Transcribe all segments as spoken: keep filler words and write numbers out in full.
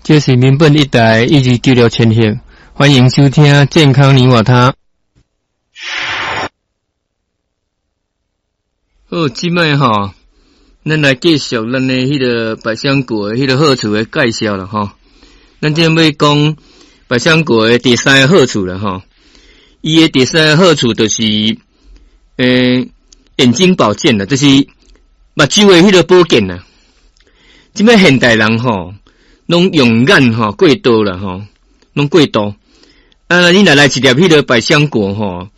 這是民本一台一二九六千赫，歡迎收聽《健康你我他》。好，這擺吼，咱來繼續咱的彼个百香果的彼个好處的介紹啦吼。咱這欲講百香果的第三个好處啦吼。伊的第三个好處就是，欸，眼睛保健啦，就是目睭的彼个保健啦。這擺現代人吼，攏用眼吼過度啦吼，攏過度。啊，你若來一粒彼个百香果吼，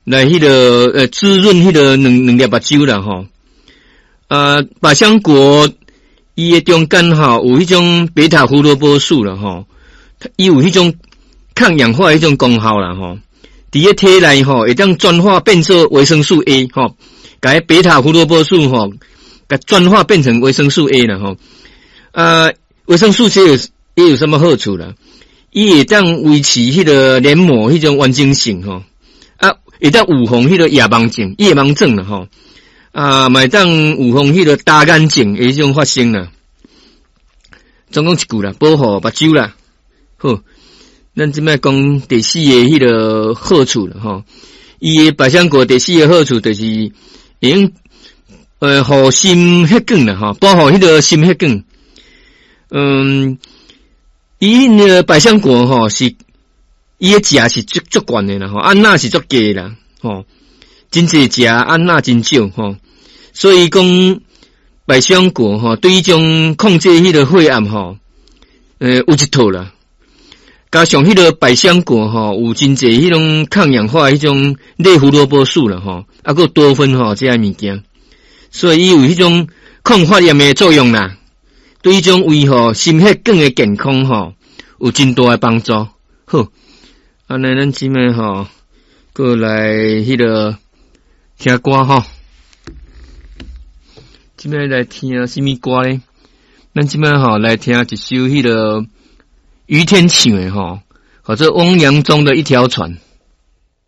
來彼个呃滋潤彼个兩兩粒目睭啦吼。啊，百香果伊的中間吼有彼種貝塔胡蘿蔔素啦吼，伊有彼種抗氧化彼種功效啦吼。佇咧體內吼會當轉化變做維生素 A 吼，共彼貝塔胡蘿蔔素吼，共轉化變成維生素 A 啦吼。啊，維生素 C 有伊有啥物好處啦？伊會當維持彼个黏膜彼種完整性吼，啊，會當預防彼个夜盲症、夜盲症啦吼，啊，嘛會當預防彼个乾眼症的彼種發生啦。總共一句啦，保護目睭啦。好，咱這擺講第四个彼个好處啦吼。伊的百香果第四个好處就是會用呃，護心血管啦吼，保護彼个心血管。嗯，伊那个百香果吼是伊的食是足足懸的啦吼，啊鈉是足低啦吼，真濟食啊鈉真少吼，所以講百香果吼對彼種控制彼个血壓吼，呃有一套啦。加上彼个百香果吼有真濟彼種抗氧化彼種類胡蘿蔔素啦吼，啊閣多酚吼這个物件，所以伊有彼種抗發炎的作用啦。對彼種維護心血管的健康吼，有真大的幫助。好，按呢咱這擺吼，閣來彼个聽歌吼。這擺來聽啥物歌咧？咱這擺吼來聽一首彼个于天唱的吼，號做汪洋中的一條船。